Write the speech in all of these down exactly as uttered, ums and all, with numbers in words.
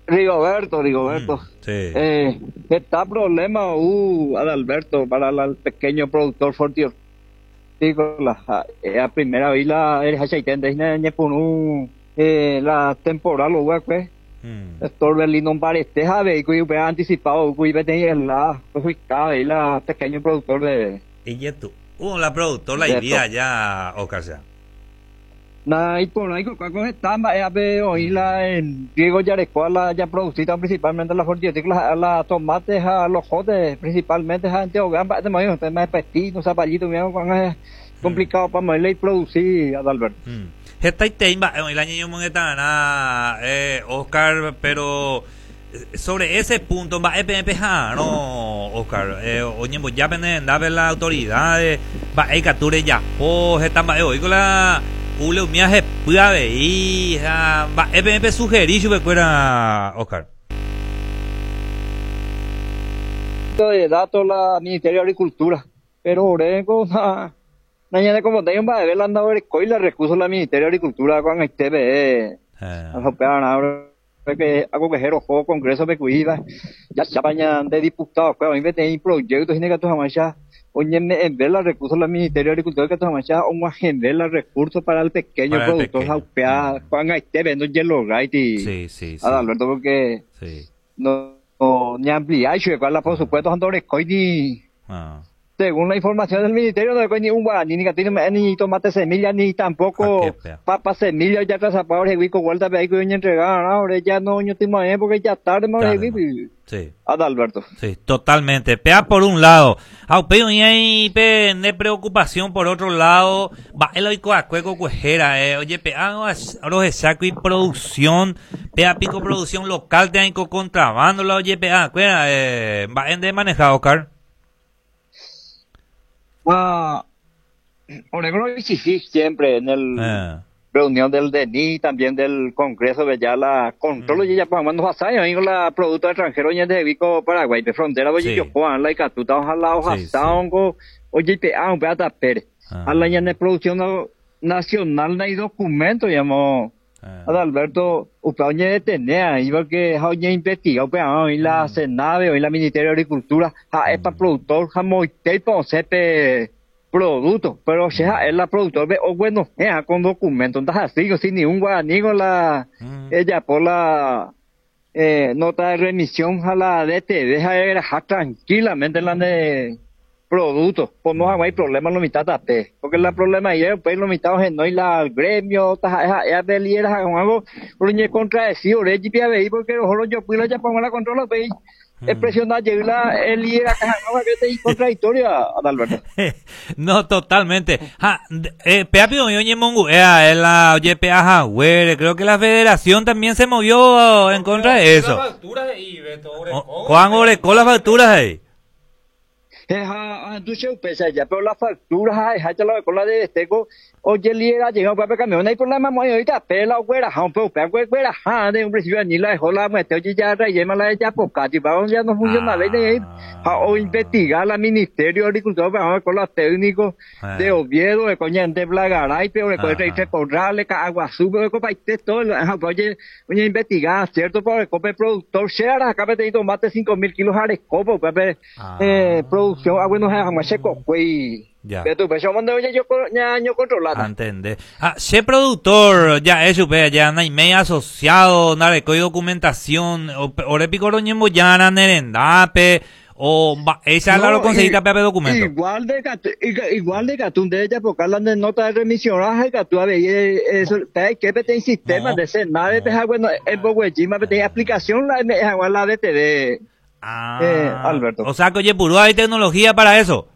Rigoberto, Rigoberto. Mm, sí. Eh, está problema, uh, Adalberto, para la, el pequeño productor hortícola. Eh, a primera vez la eh, la temporal, pues. Mm. Torbellino parece vehículo y anticipado, la pues la pequeño productor de. Y tú, uh, la productor la idea ya, Oscar sea. Na y por ahí con está hoy la en Diego Yarecoa la ya producida principalmente la hortícola, la tomates, a los jotes, principalmente a Antioquia, de mayo, tema de pestino, zapallito, mira, es complicado para moverle y producir, Adalberto. Mm. Esta tema, el año yo na eh, Oscar, pero sobre ese punto, va no, Oscar, eh, oye, ya pende la autoridad, va cature ya, po, esta va hoy con la ule umia hepy avei ha mba'épe pesugerí chupekuéra, Oscar. De datos la Ministerio de Agricultura, pero orengo na na como tengo mba'eve la ndaorekói la recurso la Ministerio de Agricultura con el T V E que hago que jero Congreso pekuiva ya chapaña de diputado pues hoy peteĩ proyecto hína katu hag̃uáicha oñeme'ẽve la recurso la Ministerio de Agricultura katu hag̃uáicha og̃uahẽve la recurso para el pequeño Para el productor pequeño. Ha upéva ko'ag̃aite ndojelograiti. Sí, sí, sí. Adalberto, porque Sí. no, no ñaampliái chupekuéra la por supuesto ndorekói ni Ah. según la información del ministerio no hay ni un guaraní, ni catino, ni tomate semilla, ni tampoco Ah, qué fea. papa semilla, ya trazapado, reguico, vuelta, pe, ahí que entregar, ahora ya no, yo estoy más bien porque ya tarde, más Tarde, reguico, y Sí. Adalberto. Sí, totalmente. Pea por un lado. Aupeo y ahí pe de preocupación por otro lado. Va el oico a cueco cuejera, eh. Oye, pea los saco y producción. Pea pico producción local te hay contrabando la oye pea, cuera, eh, va en de manejado, Oscar. Ah, Oregón exigí siempre en el Eh. reunión del D N I, también del Congreso de ya la control, Mm. y ya pues, cuando pasa, ahí con la producto extranjero y de Vico Paraguay, de frontera, oye, Sí. yo Juan, la Icatuta, ojalá, ojalá, Sí, sí. hongo, oye, pe, ah, un pedazo Pérez. Ah. A la ya de producción nacional no hay documento, llamó Ah. Adalberto, usted oye detener ahí porque oye investiga, usted, ah, hoy la Mm. Senave, hoy la Ministerio de Agricultura, ja, es pa' Mm. productor, ja, moite, pa' sepe producto, pero o sea, es la productor, ve, o bueno, eh, con documento, entonces así, sin ningún guaraní con la, Mm. ella por la, eh, nota de remisión a la D T V, ja, era, ja, tranquilamente la de producto, pues no hay problema lo mitad tape, porque la problema ahí es, pues lo mitad es no y la el gremio, ta, ja, ja, ya líder, ja, con algo, pero ni contradecido, re, G P A B I, porque ojo, yo puedo ya pongo la controla, pues, Mm. es presionar, llega el líder acá, no, que te contradictoria, Adalberto. No, totalmente. Ja, de, eh, P A P oye, Mongu, eh, la, oye, P A Jagüere, creo que la federación también se movió en contra de eso. Las facturas ahí, Beto, Orecó. O, Juan Orecó las facturas ahí. Eh, ja, ja, tú se pesa ya, pero las facturas, ja, ja, ya la con la de Esteco, oye, el líder ha llegado para camión, no hay problema, muy ahorita, pela, güera, ja, un poco, pela, güera, ja, de un principio, ni la dejó la muerte, oye, ya rellena la de Yapocati, para donde ya no funciona, Ah. ve, de ahí, ja, o investigar la Ministerio de Agricultura, para ver con los técnicos Ah. de Oviedo, de coña, de Blagaray, pero de Ajá. Costa Corrales, Caguazú, pero de Copa, y todo, ja, oye, oye, investigar, cierto, para el cope productor, sea, acá me tengo más de cinco mil kilos de arecopo, pepe, Ah. eh, producción, ah, bueno, ja, jamás se cojo y Ya. Pero tú, pues, yo mando, oye, yo con, ya, yo controlada. Entendé. Ah, che productor, ya eso, pe, ya no hay media asociado, nada, de documentación, o, ore pico roñembo ya, na, nerendape, o va, esa la No, lo conseguiste, y- pe, documento. Igual de catu, igual, igual de catún de ella, porque hablan de nota de remisión, ah, catú, a ver, eh, eso, pe, que pe, ten sistema No. de ese, nada, No. pe, ah, bueno, en Boguechima, pe, ten aplicación, la, me, ah, la D T V. Ah. Eh, Alberto. O sea que, oye, puro hay tecnología para eso.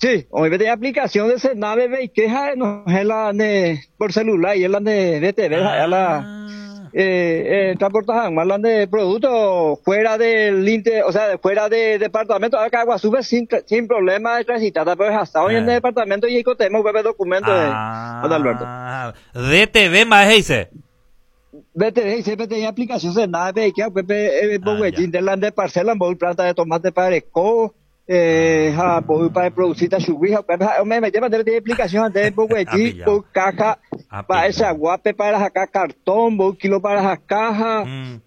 Sí, hoy de aplicación de Senave, ve, y queja, no, es la de, por celular y es la de D T V, es la, Ah. eh, eh, transportajan más la de productos fuera del inter, o sea, fuera de departamento, acá Aguazú sin, sin problema de transitar, pero hasta hoy en Ah. el departamento y tenemos web documento de Ah. Adalberto. D T V más dice. D T V dice, P T I aplicación Senave, y que, P P, eh, Ah, Boguechín, ya. de la de parcela, voy planta de tomate para esco, eh, ja, voy para producir tachuguija, pues, ja, me metí para tener explicación antes de Boguechín, Ah, voy caja, Ah, para pillado. esa guape para sacar cartón, voy kilo para esa caja, Mm.